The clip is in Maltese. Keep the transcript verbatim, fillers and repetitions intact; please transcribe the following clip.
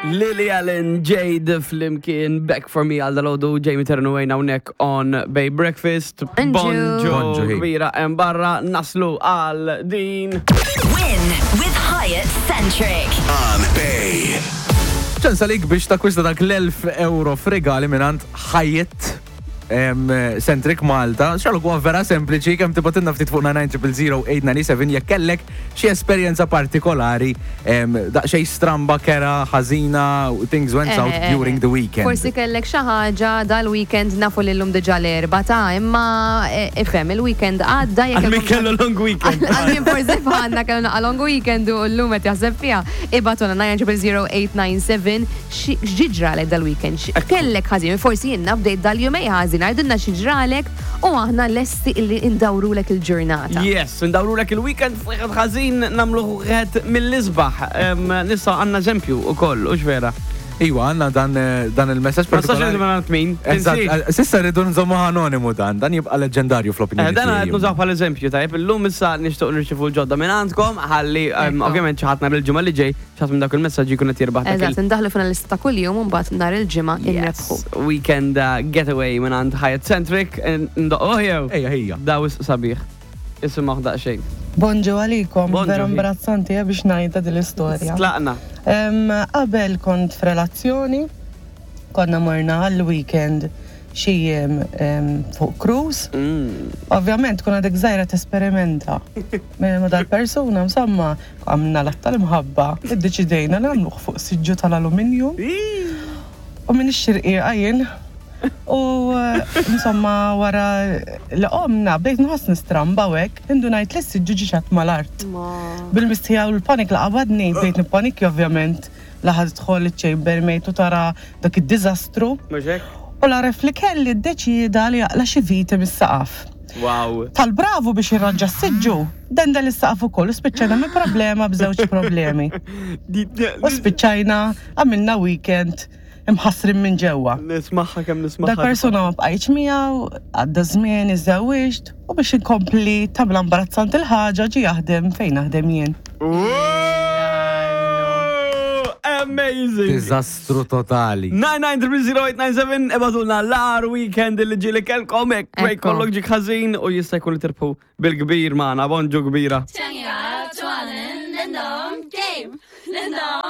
Lily Allen, Jade flimkien, Back For Me għal dalgħodu, Jamie Ternu għajna hawnhekk on Bay Breakfast. Bonġu. Bonġu Bonġu, hi. kbira hemm barra naslu għal din. Win with Hyatt Centric. On Bay. Ċans għalik biex takkwista dak l-elf euro f'regali mingħand Hyatt em, Centric Malta. Xaluk huwa vera sempliċi kemm tibgħatilna ftit fuq nine zero zero eight nine seven jekk kellek xi esperjenza partikolari em, daqsxejn stramba, kerha, ħażina, things went south Eh, during the weekend. Forsi kellek xi ħaġa dal-weekend, nafu li llum diġà l-Erbgħa ta' imma eh, ifhem il-weekend għadda jekk Għal min kellkom- kellu long weekend. Għal min forsi bħalna kellu naqa long weekend u llum qed jaħseb fiha. Ibgħatulna nine zero zero eight nine seven x'ġralek dal-weekend. Kellek ħażin, forsi jiena bdejt dal-jumej ħażin, għidilna x'ġralek u aħna lesti illi indawrulek il-ġurnata. Yes, ndawrulek il-weekend f'wieħed ħażin nagħmluh wieħed mill-isbaħ. Em, Nista' għandna eżempju ukoll, u vera. Iwa, għandna dan, eh, dan il-messaġġ Ma nistax partikolari. ngħidu minn min. Eżatt, Tinsiex. eh, s'issa rridu nżommu anonimu dan, dan jibqa leġendarju fl-opinjoni Eh, Dan qed tiegħi. nużaw bħal eżempju, tajjeb, illum issa nixtieq nirċifu l-ġodda minn għandkom, ħalli em, Ekku. ovvjament xi ħadd nhar il-ġimgħa li ġej, xi ħadd minn dak il-messaġġ jkun qed jirbaħ dak il- Eżatt, ndaħlu finalista ta' kuljum u mbagħad nhar il-ġimgħa inrebħu. Yes, weekend uh, getaway minn għand Hyatt Centric, ndoqqu jew. Ejja, ejja. Daw is sabiħ. Isimgħu daqsxejn. Bonġu għalikom, Bonġu, vera hi. imbarazzanti eh, biex ngħidha din l-istorja. Tlaqna. Em, Qabel kont f'relazzjoni, konna morna għall-weekend xi jiem em, fuq cruise. Mm. Ovvjament kun għadek żgħira tesperimenta. Ma dal-persuna, insomma, għamna l tal-imħabba, iddeċidejna li nagħmluh fuq siġġu tal-alluminju. U minn ix-xirqiqa jien. U eh, insomma wara li qomna bdejt nħoss nistramba u hekk, indunajt li s-siġġu ġie mal-art. Bil-mistħija u l-panik la qabadni, bdejt nippanikja ovvjament, laħad tħol iċ-chambermaid u tara dak id-diżastru. Mhux hekk? U l-għaref li kelli ddeċida li jaqla xi viti mis-saqaf. Wow. Tal-bravu biex irranġa s-siġġu, dendel is-saqaf ukoll u spiċċajna minn problema b'żewġ problemi. U spiċċajna għamilna weekend imħassrin minn ġewwa. Nismaħħa kemm nismaħħa. Dal-persuna ma bqajtx miegħu, għadda żmien, iżżewwiġt u biex inkompli tabla imbarazzanti il-ħaġa ġie jaħdem fejn naħdem jien. Wow! Amazing! Diżastru totali. nine nine three zero eight nine seven, ibgħatulna l-agħar weekend li ġieli kelkom hekk fej Ekku. kollok ġik ħażin u jista' jkun li tirbħu bil-kbir magħna, bonġu kbira. 좋아하는 랜덤 게임, 랜덤